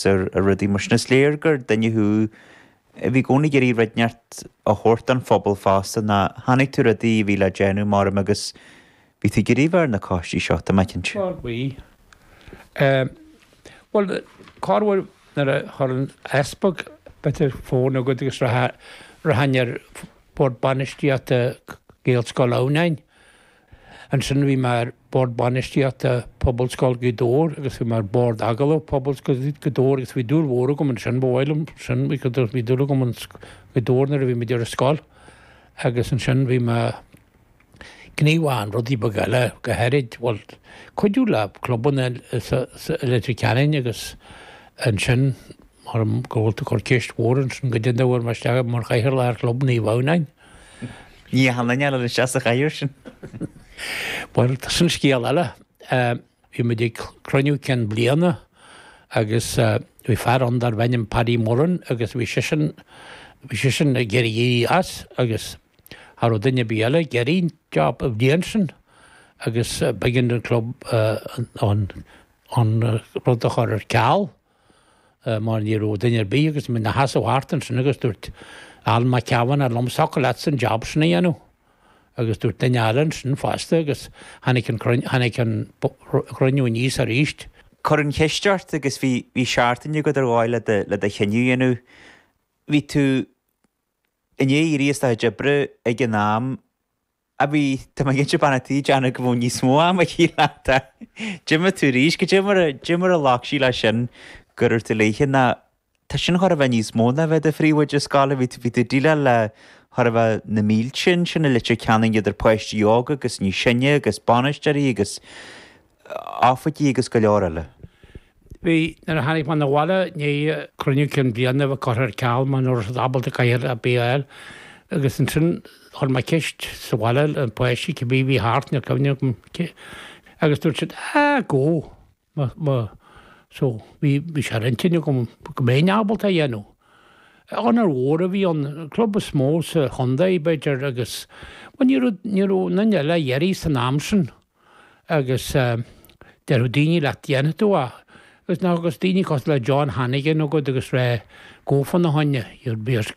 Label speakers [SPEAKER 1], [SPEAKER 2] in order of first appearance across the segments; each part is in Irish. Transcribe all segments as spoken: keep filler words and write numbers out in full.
[SPEAKER 1] ar rudaí mar sin. Is léir gur duine thú a bhí i gcónaí ag iarraidh rud inteacht a thabhairt don phobal fosta ná chonaic tú rudaí a bhí le déanamh mar agus bhí tú ag iarraidh bheith ar na coistí seo, tá mé cinnte.
[SPEAKER 2] Bhuel, bhí. Bhuel, corruair nuair a chuir an easpag b'fhéidir fón agat agus rachainn ar bhord bainistíochta Ghaelscoil Adhamhnáin. Ansin bhí mé ar bhord bainistíochta Pobalscoil Ghaoth Dobhair agus bhí mé ar bhord agallamh Pobalscoil Ghaoth Dobhair agus bhí dúil mhór agam ansin, ba mhaith liom sin, bhí dúil agam in Gaoth Dobhair nuair a bhí muid ar an scoil agus ansin bhí mé gníomhach in rudaí beaga eile, go háirid, bhuel, cuidiú le clubanna i Leitir Ceanainn agus ansin mar go bhfuil tú ag cur ceist mhór ansin goidé an dóigh a bhfuair mé isteach mar chathaoirleach ar chlub Naomh Adhamhnáin.
[SPEAKER 1] Ní hionann eile isteach sa chathaoir sin.
[SPEAKER 2] Bhuel, tá sin scéal eile. Bhí muid ag cruinniú cinn bliana agus bhí fear ann darbh ainm Paddy Mullen agus bhí seisean bhí seisean ag iarraidh éirí as agus cha raibh duine ar bith eile ag iarraidh an job an bhliain sin agus b'éigean don club an an rud a chur ar ceal mar ní raibh duine ar bith agus bhí mé ina sheasamh thart ansin agus dúirt Alan Mac Cavanagh liom thiocfadh leatsa an job sin a dhéanamh agus dúirt duine eile ansin fosta agus tháinig an tháinig an cruinniú aníos arís.
[SPEAKER 1] Cuir an cheist ort agus bhí bhí seachtain agat ar dhóigh le do le do chinneadh a dhéanamh. Bhí tú i ndiaidh éirí as do chuid oibre ag an am a bhí, tá mé cinnte bean a' tí ag déanamh go bhfuil níos mó ama aici leat. D'imigh tú arís, goidé mar a, goidé mar a ghlac sí leis sin go raibh tú léithe ná tá sin chóir a bheith níos mó ná bheith i do phríomhoide scoile, bhí tú, bhí tú ag déileáil le chóir a bheith na mílte ansin i Leitir Ceanainn idir páistí óga agus níos sine agus bainisteoirí agus oifigigh agus go leor eile.
[SPEAKER 2] Bhí, nuair a tháinig mé 'na bhaile i ndiaidh cruinniú cinn bliana a bheith curtha ar ceal mar nach raibh siad ábalta cathaoir ar bith a fháil agus ansin chuir mé ceist sa bhaile le páistí cibé a bhí thart, níl cuimhne agam cé, agus dúirt siad ah go! Má, má, so bhí, bhí sé ar intinn agam go mbeinn ábalta é a dhéanamh. Onóir mhór a bhí ann, an club is mó sa chontae b'fhéidir agus, bhuel ní raibh, ní raibh aon duine eile ag iarraidh san am sin. Agus déarfadh daoine leat dhéanfaidh tú é. Agus ná agus daoine cosúil le John Hannigan agat agus rá go fána choinne, beidh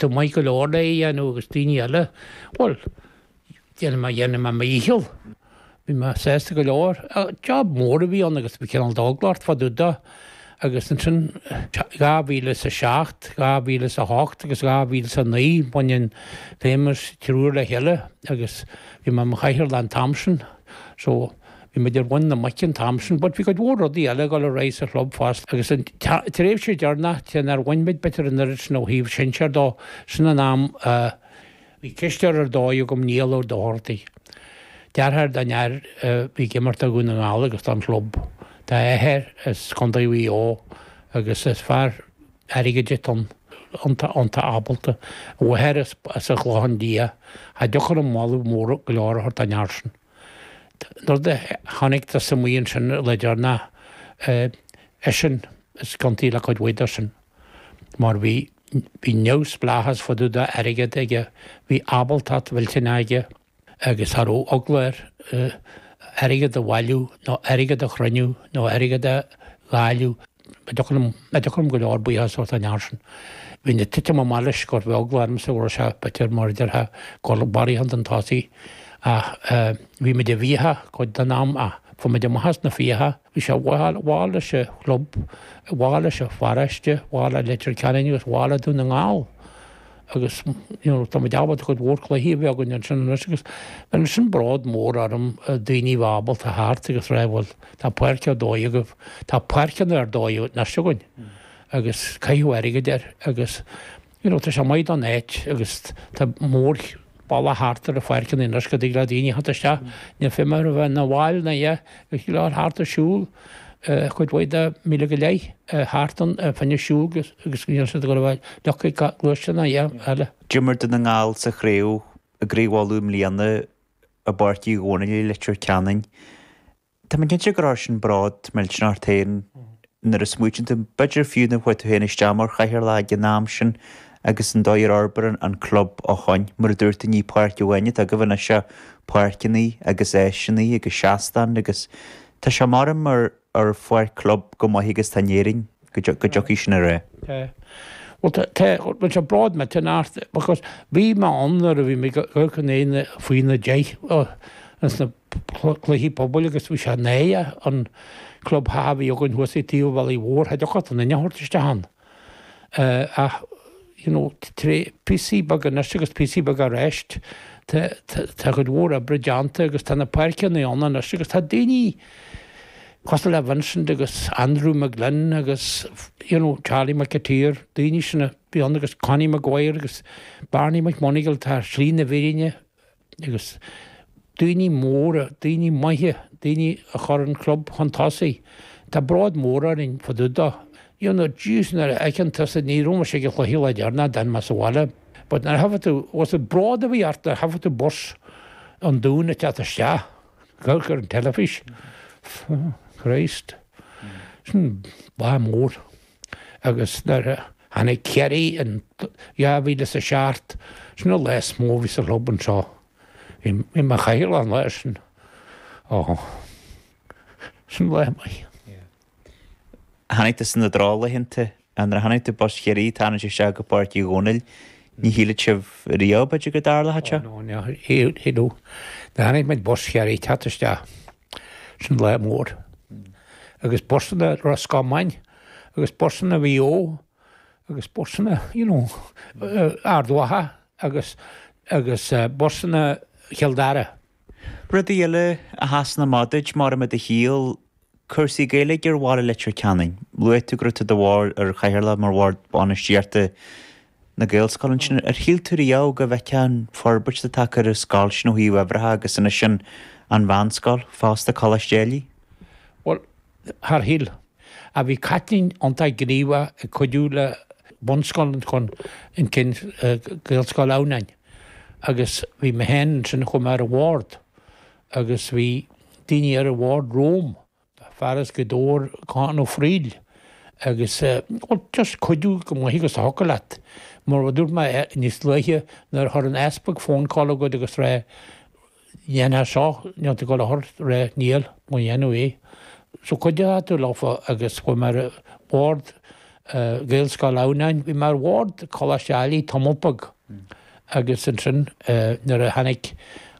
[SPEAKER 2] tú maith go leor le é a dhéanamh agus daoine eile, bhuel, dhéanfaidh mé, dhéanfaidh mé mo dhícheall. Bhí mé sásta go leor. Job mór a bhí ann agus bhí cineál d'eagla ort fá dtaobh de. Agus ansin dhá mhíle is a seacht, dhá mhíle is a hocht agus dhá mhíle is a naoi bhain an feidhmeannas triúr le chéile agus bhí mé i mo chathaoirleach an t-am sin. So bhí muid ar mhuin na muice an t-am sin but bhí cuid mhór rudaí eile ag dul ar aghaidh sa chlub fosta agus an tréimhse deireanach cé nár bhain muid b'fhéidir an oiread sin ó thaobh sinsear dó, sin an am a bhí cisteoir ar dóigh agam Niall Ó Dochartaigh. Deartháir don fhear a bhí ag imirt do Dhún na nGall agus don chlub. Tá a athair as Contae Mhaigh Eo agus is fear airgid atá ann, iontach ábalta. A mháthair as an Chlochán Liath. Cha dtiocfadh liom moladh mór go leor a thabhairt don fhear sin. An rud a chonacthas amuigh ansin le deireanach, eisean is ciontaí le cuid mhaith de sin mar bhí bhí neamhspleáchas fá dtaobh d'airgead aige, bhí ábaltacht mhillteanach aige agus cha raibh eagla air airgead a bhailiú nó airgead a chruinniú nó airgead a dháileadh. Cha dtiocfadh liom, cha dtiocfadh liom go leor buíochas a thabhairt don fhear sin. Bhínn ag titim amach leis go raibh eagla ormsa go raibh sé b'fhéidir mar a déarfá ag dul barraíocht chun tosaigh ach bhí muid i bhfiacha cuid den am ach fuair muid amach as na fiacha. Bhí sé mhaith leis an chlub, mhaith leis an pharóiste, mhaith le Leitir Ceanainn agus mhaith le Dún na nGall agus you know tá muid ábalta cuid mhór cluichí a bheith againn ansin anois agus bhí sin bród mór orm daoine a bheith ábalta theacht agus rá bhuel tá páirc ar dóigh agaibh, tá páirceanna ar dóigh anois againn agus caitheadh airgead air agus you know tá sé maith don áit agus tá mór bealach thart ar na pháirceanna anois go dtig le daoine theacht isteach níl feidhm orthu bheith ina bhaill ná a dhath ag dul thart ag siúl cuid mhaith de míle go leith thart ann fá choinne siúl agus agus níl siad ag dul a bheith leagtha ag gluaisteáin ná a dhath eile.
[SPEAKER 1] D'imir Dún na nGall sa chraobh i gCraobh Uladh i mbliana i bPáirc Uí Dhónaill i Leitir Ceanainn. Tá mé cinnte go raibh sin bród millteanach ort féin nuair a smaoitíonn tú, b'fhéidir fiú nuair a chuaigh tú féin isteach mar chathaoirleach ag an am sin agus an dóigh ar fhorbair an club ó shoin. Mar a dúirt tú ní páirc amháin atá agaibh anois ach páirceanna agus áiseanna agus seastáin agus tá sé mar mar ar pháirc club chomh maith agus atá in Éirinn, go dtiocfaidh sin ar aghaidh.
[SPEAKER 2] Tá. Bhuel tá, tá, bhuel tá bród millteanach ort because bhí mé ann nuair a bhí mé ag dul chun aon faoi na deich ins na cluichí pobail agus bhí sé náireach an club a bhí againn thuas ag taobh an bhealaigh mhóir, cha dtiocfadh duine a thabhairt isteach ann. Ach you know tré píosaí beaga anois agus píosaí beaga aráist tá tá cuid mhór oibre déanta agus tá na páirceanna ann anois agus tá daoine cosúil le Vincent agus Andrew McGlynn agus you know Charlie McAteer, daoine sin a bhí ann agus Connie Maguire agus Barney McMonagall tá slí na bhfírinne agus daoine móra, daoine maithe, daoine a chuir an club chun tosaigh. Tá bród mór orainn fá dtaobh dó. You know, jeez, nuair a fheiceann tusa, ní raibh mise ag an chluiche lá deireanach, d'fhan mé sa bhaile, but nuair a thabharfaidh tú, was it bród a bhí ort nuair a thabharfaidh tú bus an Dúin ag teacht isteach, amharc ar an teilifís. Christ. Sin lá mór. Agus nuair a tháinig Ciarraí in dhá mhíle is a seacht, sin an lá is mó a bhí sa chlub anseo. Bhí mé mar chathaoirleach an lá sin. Ó, sin lá maith.
[SPEAKER 1] Chonaic tusa na drochlaethanta, nuair a chonaic tú bus Chiarraí ag tarraingt isteach go Páirc Uí Dhónaill, ní shílfeadh sibh riamh, b'fhéidir, go dtarlódh sé?
[SPEAKER 2] Ó, no, ní shílfeadh. Nuair a chonaic muid bus Chiarraí ag teacht isteach, sin lá mór. Agus busanna Ros Comáin, agus busanna Mhaigh Eo, agus busanna, you know, Ard Mhacha, agus, agus busanna Chill Dara.
[SPEAKER 1] Rudaí eile a sheasann amach duit mar i do shaol, cúrsaí Gaeilge ar bhaile Leitir Ceanainn. Luaigh tú go raibh tú do bhord ar chathaoirleach mar bhord bainistíochta na Gaelscoile ansin. Ar shíl tú riamh go bhfeicfeá an forbairt atá tagtha ar an scoil sin ó thaobh uimhreacha agus anois an an mheánscoil fosta, Coláiste Ailigh?
[SPEAKER 2] Bhuel, char shíl. Ach bhí Caitlín iontach gníomhach ag cuidiú le bunscoil chun cinn Gaelscoil Adhamhnáin agus bhí mé féin ansin chuaigh mé ar an bhord agus bhí daoine ar an bhord romham, fear as Gaoth Dobhair, Con Ó Fríl agus bhuel just cuidiú chomh maith agus a thiocfadh leat. Mar a dúirt mé níos luaithe nuair a chuir an easpag phone call agat agus rá dhéanfá seo, níl tú ag dul a thabhairt rá níl, mo dhéanamh é. So cuideoidh tú leofa agus chuaigh mé ar bhord Gaelscoil Adhamhnáin, bhí mé ar bhord Coláiste Ailigh tamall beag agus ansin nuair a tháinig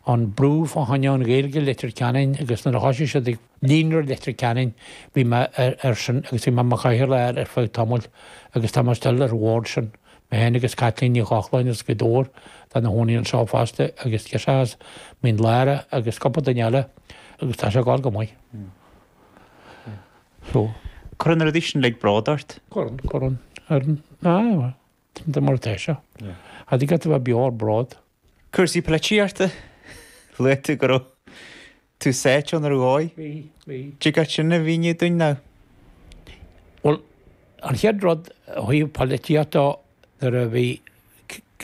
[SPEAKER 2] an brú fá choinne an Ghaeilge i Leitir Ceanainn agus nuair a thosaigh siad ag Líonra Leitir Ceanainn bhí mé ar sin agus bhí mé mar chathaoirleach air ar feadh tamaill agus tá mé still ar an bhord sin, mé féin agus Caitlín Ní Chochláin as Gaoth Dobhair atá ina chónaí anseo fosta agus girseach as Mín Lárach agus cúpla duine eile agus tá sé ag dul go maith. So.
[SPEAKER 1] Cuireann na rudaí sin uilig bród ort?
[SPEAKER 2] Cuireann, cuireann. Cuireann. Aye, bhuel, mar atá sé. Cha dtig leat a bheith beo ar bród.
[SPEAKER 1] Cúrsaí polaitíochta? Luaigh tú go raibh tú sáite ann ar dhóigh.
[SPEAKER 2] Bhí, bhí.
[SPEAKER 1] Dtig leat sin a mhíniú dúinn nó?
[SPEAKER 2] Bhuel, an chéad rud ó thaobh polaitíochta nuair a bhí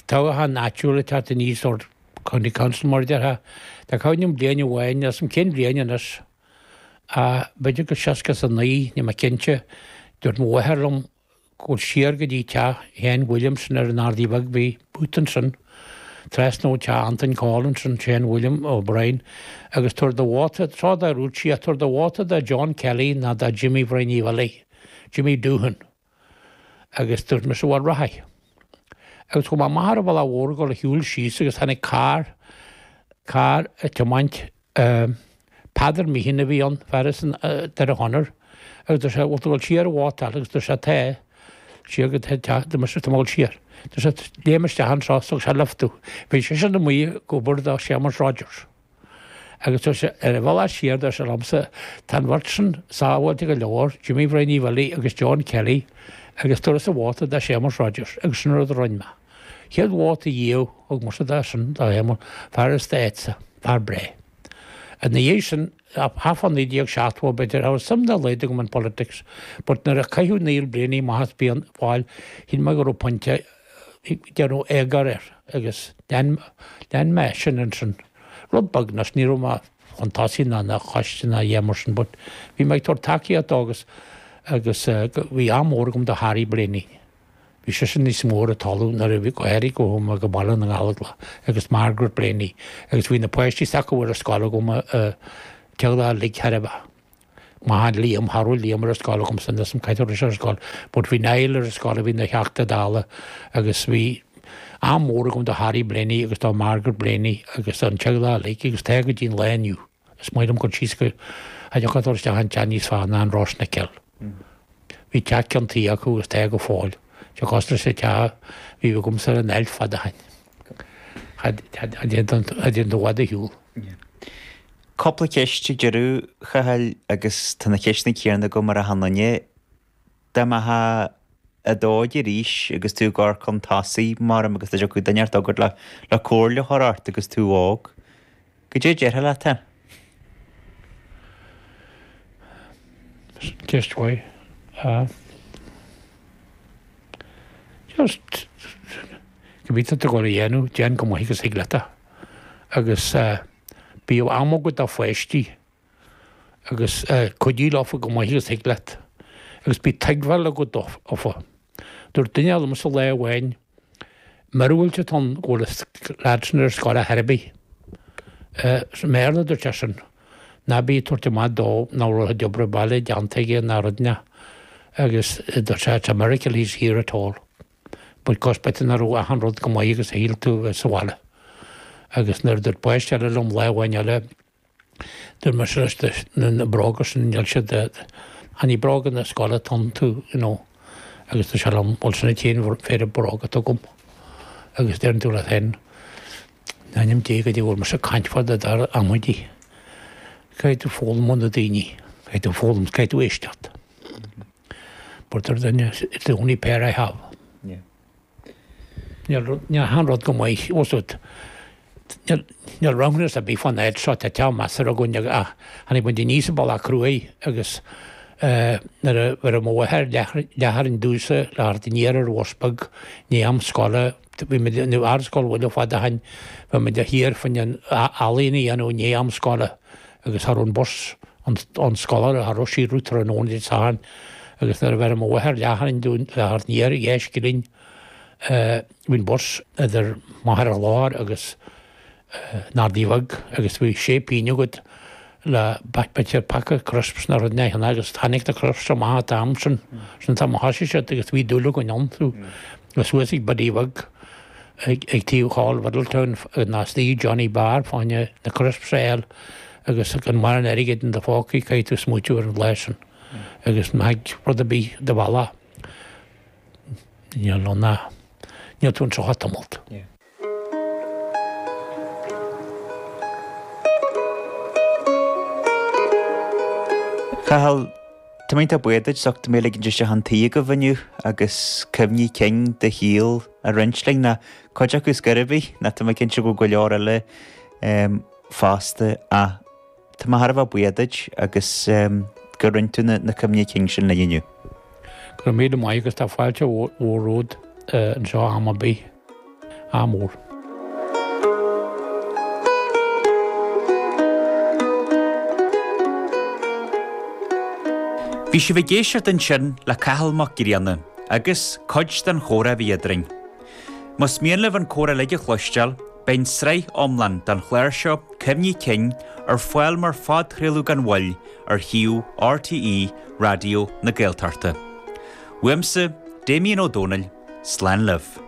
[SPEAKER 2] toghchán áitiúil ag teacht aníos, sórt county council mar a déarfá, tá cuimhne agam bliain amháin, níl 'fhios a'm cén bhliain anois, ach b'fhéidir go seasca is a naoi, níl mé cinnte, dúirt mo mháthair liom go bhfuil siar go dtí teach Sheáin Williamson ar an Ardaidh Bheag, bhí booth ansin, trasna ó teach Antain Coll ansin, Seán William O'Brien, agus tabhair do vóta, seo dá rúid sí, tabhair do vóta do John Kelly ná do Jimmy Bhrianaí Bhilly, Jimmy Doohan. Agus dúirt mise, bhuel, rachaidh. Agus chuaigh mé amach ar an bhealach mhór ag dul a shiúl síos agus tháinig carr, carr ag tiomáint, Peadar Meehan a bhí ann, fear as an Doire Chonair, agus dúirt sé, bhfuil tú ag dul siar an vótáil? Agus dúirt sé, tá, siar go teach, dúirt mise, tá mé ag dul siar. Dúirt sé, léim isteach anseo, is thug sé lift domh. Bhí seisean amuigh ag obair do Séamus Rogers. Agus dúirt sé, ar an bhealach siar, dúirt sé liomsa, tá an bheirt sin sábháilte go leor, Jimmy Bhrianaí Bhilly agus John Kelly, agus tabharfadsa vóta do Séamus Rogers, agus sin an rud a rinne mé. Chéad vóta riamh, thug mise dó sin, do Shéamus, fear as d'áitse, fear breá. Ina dhiaidh sin, thart fá naoi déag seachtó, b'fhéidir, cha raibh suim dá laghad agam in politics, but nuair a caitheadh Niall Blaney amach as Fianna Fáil, shíl mé go raibh pointe déanamh éagóir air agus lean lean mé sin ansin. Rud beag anois, ní raibh mé chun tosaigh ná ina choiste ná a dhath mar sin but bhí mé ag tabhairt tacaíocht dó agus agus bhí ádh mór agam do Harry Blaney. Bhí seisean níos mó ar an talamh nuair a bhí go háirithe go chuaigh mé go Baile na nGallóglach agus Margaret Blaney agus bhí na páistí s'acu ar an scoil agam teaghlach uilig thar a bheith. M'athair Liam, cha raibh Liam ar an scoil agamsa níl 'fhios a'm cá raibh sé ar scoil, but bhí Niall ar an scoil a bhí ina Theachta Dála agus bhí am mór agam do Harry Blaney agus do Margaret Blaney agus don teaghlach uilig agus tá go dtí an lá inniu. Is maith liom cur síos go cha dtiocfadh dul isteach an teach níos fearr ná an Ros na Cill. Bhí teach ceann tuí acu agus tá go fóill. Tá cosúil leis an teach a bhí agamsa ar an Ailt fad ó shin. Cha dtéann tú i bhfad ar shiúl.
[SPEAKER 1] Cúpla ceist ag deireadh, a Chathail, agus tá na ceisteanna céanna agam ar achan duine. Dá mbeifeá i d'óige arís agus tú ag amharc chun tosaigh, mar agus dá dtiocfadh duine inteacht chugat le le comhairle a chur ort agus tú óg, goidé a déarfá leat féin?
[SPEAKER 2] Ceist mhaith. Just cibé atá tú ag dul a dhéanamh, déan go maith agus thig leat é. Agus bíodh am agat do pháistí agus cuidigh leofa go maith agus thig leat. Agus bí tuigbheáil agat dófa. Dúirt duine liomsa lá amháin, míorúilt atá ann go bhfuil an leaid sin ar scoil ar chor ar bith. I mBéarla a dúirt sé sin. Ná bí ag tabhairt amach dó nach raibh a chuid oibre baile déanta aige ná rud ná. Agus dúirt sé, it's a miracle he's here at all. Because b'fhéidir nach raibh achan rud go maith agus a shíl tú sa bhaile. Agus nuair a dúirt páiste eile liom lá amháin eile, dúirt mise leis na bróga sin, níl siad, chan ní bróga na scoile atá iontu, you know. Agus dúirt sé liom, bhuel sin an t-aon phéire bróga atá agam. Agus deireann tú leat féin, in ainm Dé goidé a bhfuil mise ag caint fá dtaobh de amaidí. Caithfidh tú foghlaim ó na daoine, caithfidh tú foghlaim, caithfidh tú éisteacht. But ar duine, it's the only pair I have. Níl aon rud go maith, níl níl roghnú ar bith fán áit seo, tá teach measartha againn ach tháinig muid aníos an bealach cruaidh agus nuair a bhí mo mháthair leath-tharainn domhsa le theacht aniar ar bhus beag i ndiaidh am scoile, bhí muid in Ardscoil Mhuire fad ó shin, bhí muid thiar fá choinne ealaín a dhéanamh i ndiaidh am scoile agus cha raibh an bus an scoláire cha raibh sí roimh tráthnóna Dé Sathairn agus nuair a bheir mo mháthair leath-tharainn dúinn le theacht aniar dhá scilling bhí an bus idir Machaire Chláir agus an Ardaidh Bheag agus bhí sé pingin agat le b'fhéidir paca crisps nó rud éigin agus tháinig na crisps amach an t-am sin, sin an t-am a thosaigh siad agus bhí dúil againn iontu. Agus suas ag Biddy Bheag ag taobh Hall Mhiddletown ná istigh Johnny Bar fá choinne na crisps a fháil agus gan mórán airgid in do phócaí caithfidh tú smaoitiú ar an lá sin agus má thig rud ar bith do bhealach níl ann ach níl tú anseo tamalt.
[SPEAKER 1] Cathal, tá mé iontach buíoch duit as ucht mé a ligint isteach chun tí agaibh inniu agus cuimhní cinn do shaoil a roinnt linn, ná cuid acu scor ar bith, ná tá mé cinnte go bhfuil go leor eile fosta ach tá mé thar a bheith buíoch duit agus gur roinn tú na cuimhní cinn sin linn inniu.
[SPEAKER 2] Go raibh míle maith agus tá fáilte mhór romhat anseo am ar bith. Ádh mór.
[SPEAKER 1] Bhí sibh ag éisteacht ansin le Cathal Mac Grianna agus cuid den chomhrá a bhí eadrainn. Más mian libh an comhrá uilig a chloisteáil, beidh an tsraith iomlán den chlár seo, Cuimhní Cinn, ar fáil mar phodchraoladh gan mhoill ar shuíomh RTÉ Raidió na Gaeltachta. Uaimse, Damien Ó Dónaill, slán libh.